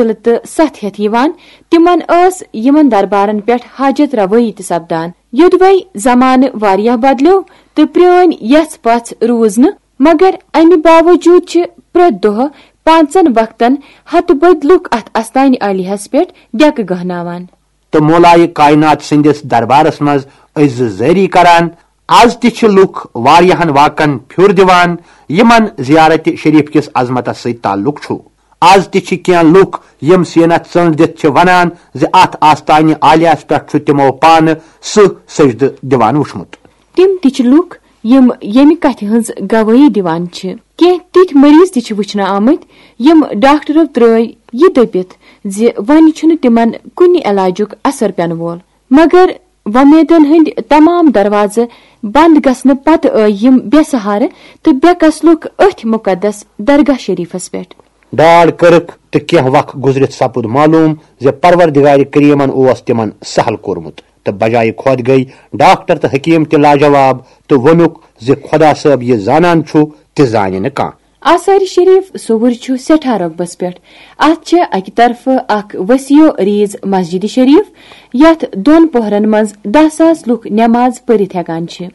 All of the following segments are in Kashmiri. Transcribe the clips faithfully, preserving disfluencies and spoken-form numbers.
ضلعہٕ تہٕ ستھ ہٮ۪تھ یِوان، تِمن ٲس یِمن دربارن پٮ۪ٹھ حاجت روٲیی تہِ سپدان۔ یوٚدوے زمانہٕ واریاہ بدلیو تہٕ پرٛٲنۍ یژھ پژھ روٗز نہٕ، مگر امہِ باوجوٗد چھِ پرٛٮ۪تھ دۄہ پانٛژن وقتن ہتہٕ بٔدۍ لُکھ اتھ استانہِ عالیہس پٮ۪ٹھ ڈیکہٕ گہناوان۔ تہٕ مولایہِ کائنات سٕنٛدِس دربارس منٛز عزٕ زٲری کران۔ از تہِ چھِ لُکھ واریاہن واقعن پھیُر دِوان، یِمن زیارت شریف کِس عظمتس سۭتۍ تعلق چھُ۔ از تہِ چھِ کینٛہہ لُکھ، یِم سینس ژٔنٛڈ دِتھ چھِ ونان زِ اتھ آستانہِ عالیہس پٮ۪ٹھ چھُ تِمو پانہٕ سٕہہ سجدٕ دِوان وُچھمُت۔ تِم تہِ چھِ لُکھ، یِم ییٚمہِ کتھِ ہٕنٛز گوٲہی دِوان چھِ۔ کینٛہہ تِتھۍ مریض تہِ چھِ وٕچھنہٕ آمٕتۍ، یِم ڈاکٹرو ترٲوۍ یہِ دٔپِتھ زِ وۄنۍ چھُنہٕ تِمن کُنہِ علاجُک اثر پٮ۪نہٕ وول۔ مگر وۄمیدن ہٕنٛدۍ تمام دروازٕ بند گژھنہٕ پتہٕ آے یِم بے سہارٕ تہٕ بے کس لُکھ أتھۍ مُقدس درگاہ شریفس پٮ۪ٹھ۔ ڈاڈ کٔرٕکھ تہٕ کینٛہہ وق گُزرِتھ سپُد معلوم زِ پروردگارِ کریمن اوس تِمن سہل کوٚرمُت، تہٕ بجایہِ خۄد گٔیۍ ڈاکٹر تہٕ حکیم تہِ لاجواب تہٕ ووٚنُکھ زِ خۄدا صٲب یہِ زانان چھُ، تہِ زانہِ نہٕ کانٛہہ۔ آثار شریف صوٚوُر چھُ سٮ۪ٹھاہ رۄقبس پٮ۪ٹھ۔ اتھ چھِ اکہِ طرفہٕ اکھ وسیع و عریض مسجد شریف، یتھ دۄن پوہرن منٛز دَہ ساس لُکھ نماز پٔرِتھ ہٮ۪کان چھِ۔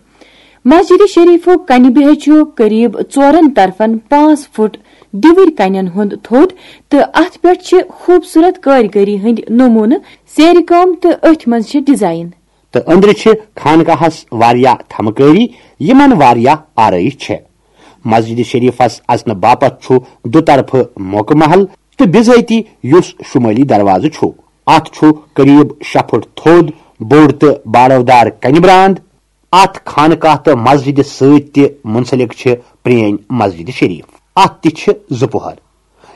مسجد شریفُک کنہِ بیہہ چھُ قریب ژورن طرفن پانٛژھ فُٹ دِوٕرۍ کنٮ۪ن ہُنٛد تھوٚد، تہٕ اتھ پٮ۪ٹھ چھِ خوبصورت کٲرۍگٔری ہٕنٛدۍ نموٗنہٕ، زیرِ کٲم تہٕ أتھۍ منٛز چھِ ڈیزائن۔ تہٕ أنٛدرٕ چھِ خانقاہس واریاہ تھمہٕ کٲری، یِمن واریاہ آرٲیش چھےٚ۔ مسجد شریفس اژنہٕ باپتھ چھُ دُطرفہٕ موقعہٕ محل تہٕ بِذٲتی یُس شمٲلی دروازٕ چھُ۔ اتھ چھُ قریب شےٚ فُٹ تھوٚد، بوٚڑ تہٕ باڑودار کنہِ براند۔ اتھ خانقاہ تہٕ مسجدِ سۭتۍ تہِ منسلک چھِ پرٛٲنۍ مسجد شریف۔ اتھ تہِ چھِ زٕ پوہر۔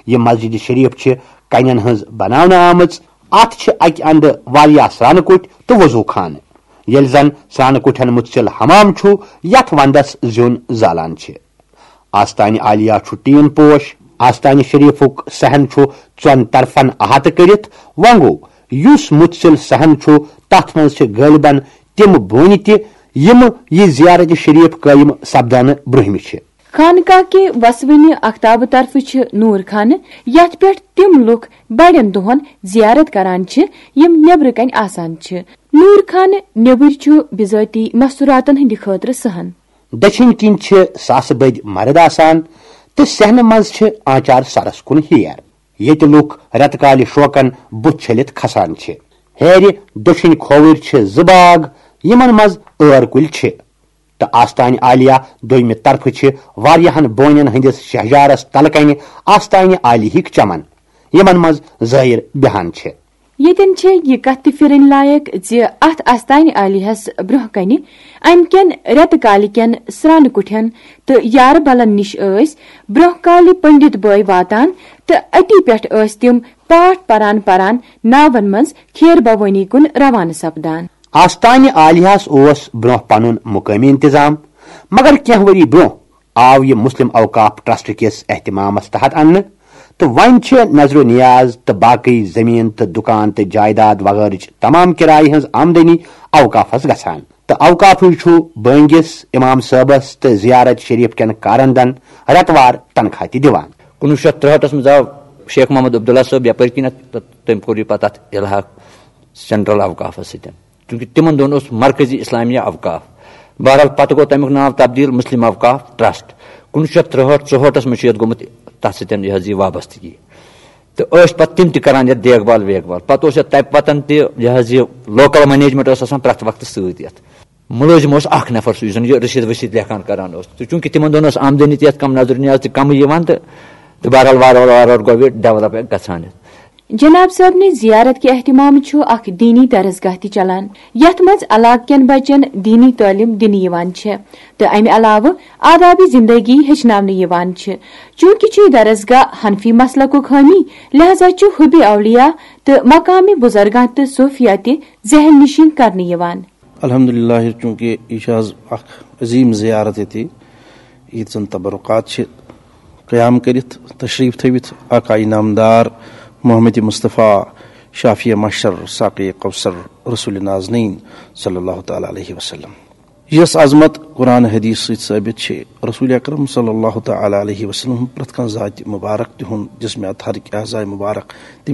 یہِ مسجد شریف چھِ کنٮ۪ن ہٕنٛز بناونہٕ آمٕژ۔ اتھ چھِ اکہِ اندٕ واریاہ سرٛانہٕ کُٹھۍ تہٕ وضو خانہٕ، ییٚلہِ زن سرٛانہٕ کُٹھٮ۪ن مُتسِل حمام چھُ، یتھ ونٛدس زیُن زالان چھِ۔ آستانہِ عالیہ چھُ ٹیٖن پوش۔ آستانہِ شریفُک صحن چھُ ژۄن طرفن احاطہٕ کٔرِتھ۔ وۄنۍ گوٚو، یُس مُتسِل صحن چھُ، تتھ منٛز چھِ غٲلبن تِم بونہِ تہِ، یِم یہِ زیارت شریف قٲیِم سپدنہٕ برٛونٛہمہِ چھِ۔ خانقاہ کہِ وسوٕنہِ اختابہٕ طرفہٕ چھِ نور خانہٕ، یتھ پٮ۪ٹھ تِم لُکھ بڑٮ۪ن دۄہن زیارت کران چھِ، یِم نیبرٕ کنہِ آسان چھِ۔ نور خانہٕ نیبٕرۍ چھُ بذٲتی مستوراتن ہٕنٛدِ خٲطرٕ صحن۔ دٔچھِنۍ کِنۍ چھِ ساسہٕ بٔدۍ مرد آسان تہٕ صحنہٕ منٛز چھِ آنچار سرس کُن ہیر، ییٚتہِ لُکھ رٮ۪تہٕ کالہِ شوقن بُتھ چھٔلِتھ کھسان چھِ۔ ہیرِ دٔچھِنۍ کھووٕرۍ چھِ زٕ باغ، یِمن منٛز ٲر کُلۍ چھِ۔ تہٕ آستانہِ عالیہ دوٚیمہِ طرفہٕ چھِ واریاہن بونٮ۪ن ہٕنٛدِس شہجارس تلہٕ کنہِ آستانہِ عالیہٕکۍ چمن، یِمن منٛز زٲیِر بیہان چھِ۔ ییٚتٮ۪ن چھےٚ یہِ کتھ تہِ پھِرٕنۍ لایق زِ اتھ آستانہِ عالیہس برٛونٛہہ کنہِ امہِ کٮ۪ن رٮ۪تہٕ کالہِ کٮ۪ن سرٛانہٕ کُٹھٮ۪ن تہٕ یارٕ بلن نِش ٲسۍ برٛونٛہہ کالہِ پنڈت بٲے واتان تہٕ أتی پٮ۪ٹھ ٲسۍ تِم پاٹھ پران پران ناون منٛز کھیر بھوٲنی کُن روانہٕ سپدان۔ آستانہِ عالیہس اوس برٛونٛہہ پنُن مقٲمی انتظام، مگر کینٛہہ ؤری برٛونٛہہ آو یہِ مسلم اوقاف ٹرسٹ کِس اہتمامس تحت اننہٕ، تہٕ وۄنۍ چھِ نذر و نیاز تہٕ باقٕے زٔمیٖن تہٕ دُکان تہٕ جائیداد وغٲرٕچ تمام کرایہِ ہٕنٛز آمدنی اوقافس گژھان، تہٕ اوقافٕے چھُ بٲنگِس، امام صٲبس تہٕ زیارت شریف کٮ۪ن کارندن رٮ۪تہٕ وار تنخواہ تہِ دِوان۔ کُنوُہ شیٚتھ ترٛہٲٹھس منٛز آو شیخ محمد عبداللہ صٲب یپٲرۍ کِنۍ تہٕ تٔمۍ کوٚر یہِ پتہٕ اتھ الحاق سینٹرل اوقافس سۭتۍ، چونکہ تِمن دۄہن اوس مرکزی اسلامیہ اوقاف۔ بہرحال، پتہٕ گوٚو تمیُک ناو تبدیل مسلم اوقاف ٹرسٹ۔ کُنوُہ شیٚتھ ترٛہٲٹھ ژُہٲٹھس منٛز چھُ یتھ گوٚمُت تتھ سۭتۍ یہِ حظ یہِ وابستگی۔ تہٕ ٲسۍ پتہٕ تِم تہِ کران یتھ دیکھ بھال ویکھ بھال۔ پتہٕ اوس یتھ تمہِ پتن تہِ یہِ حظ یہِ لوکل مینیجمنٹ اوس آسان پرٛٮ۪تھ وقتہٕ سۭتۍ یتھ۔ مُلٲزِم اوس اکھ نفر سُہ، یُس زن یہِ رٔسیٖد ؤسیٖد لیکھان کران اوس۔ تہٕ چونکہ تِمن دۄہن ٲس آمدنی تہِ یتھ کم، نظر نیاز تہِ کمٕے یِوان، تہٕ، تہٕ بہرحال وارٕ وارٕ وارٕ وارٕ گوٚو یہِ ڈیولپ گژھان۔ جناب صٲبنہِ زیارت کہِ اہتمام چھُ اکھ دینی درسگاہ تہِ چلان، یتھ منٛز علاقہٕ کٮ۪ن بچن دینی تعلیٖم دِنہٕ یِوان چھےٚ تہٕ امہِ علاوٕ آدابِ زندگی ہیٚچھناونہٕ یِوان چھِ۔ چونکہ چھُ یہِ درسگاہ حنفی مسلکُک حٲمی، لہذا چھُ حُبِ اولیاء تہٕ مقامِ بزرگاں تہٕ صوفیہ تہِ ذہن نشین کرنہٕ یِوان۔ الحمدللہ، چونکہ یہِ چھِ آز اکھ عظیٖم زیارت ییٚتہِ، ییٚتہِ زن تبرکات چھِ قیام کٔرِتھ تشریٖف تھٲوِتھ آقا انعام دار محمد مصطفیٰ شافی محشر ساقی کوثر رسول نازنین صلی اللہ تعالیٰ علیہ وسلم۔ یۄس عظمت قرآن حدیث سۭتۍ ثٲبت چھِ، رسول اکرم صلی اللہ تعالیٰ علیہ وسلم ہُنٛد پرٛٮ۪تھ کانٛہہ ذاتِ مبارک، تِہُنٛد جسمِ اطہر کہِ اعضائے مبارک، تِم چھِ